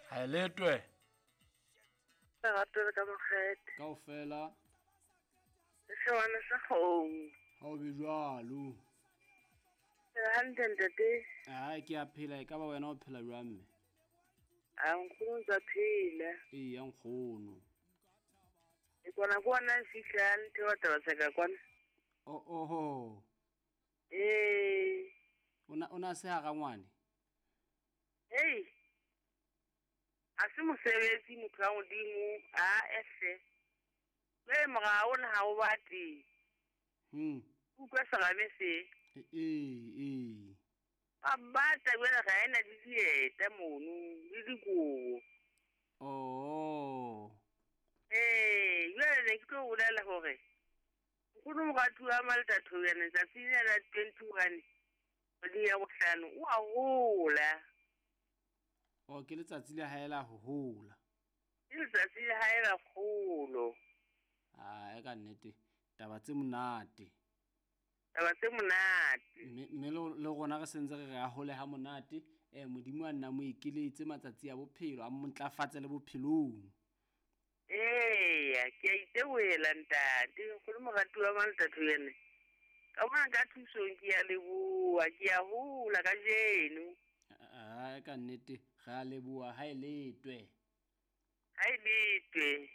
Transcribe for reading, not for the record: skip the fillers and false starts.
Ha e letwe. Lerato le ka mokgethe. Kaofela. Sewana sa kgomo. Ha o be jwalo. Hantle ntate. Ai ke a phela e ka ba wena o phela jwang mme? A nkgono tsa phela. Ee ya nkgono. E kwana ke ona fihlang thewa taba tsa ka kwana. Oh oho. Ee. Ona se hara ngwane. Hey. A se mosebetsi motho wa Modimo a ehle. Le morao na ha o batle. Utlwa serame se. Ee. A batla jwale ga ena le dieta mono le dikobo. Oh. Ee, jwale ne ke tlo bolela hore nkgono moratuwa wa Malta Thoyane tsatsi lena la 21 kgweding ya bohlano o a hola. O ke letsatsi le hae la ho hola. Ke letsatsi le hae la kgolo. Ah, e ka nnete taba tse monate. Taba tse monate. Mme le rona re sentse re re a hole ha monate. Modimo a nna mo ekeletse matsatsi a bophelo, a mo ntlafatse le bophelong. Eya, ke a itebohela ntate, nkgono moratuwa wa Malta Thoyane. Ka bona ka thusong ke a leboha, ke a hola kajeno. Ah, ka nnete re a leboha ha e letwe. Ha e letwe.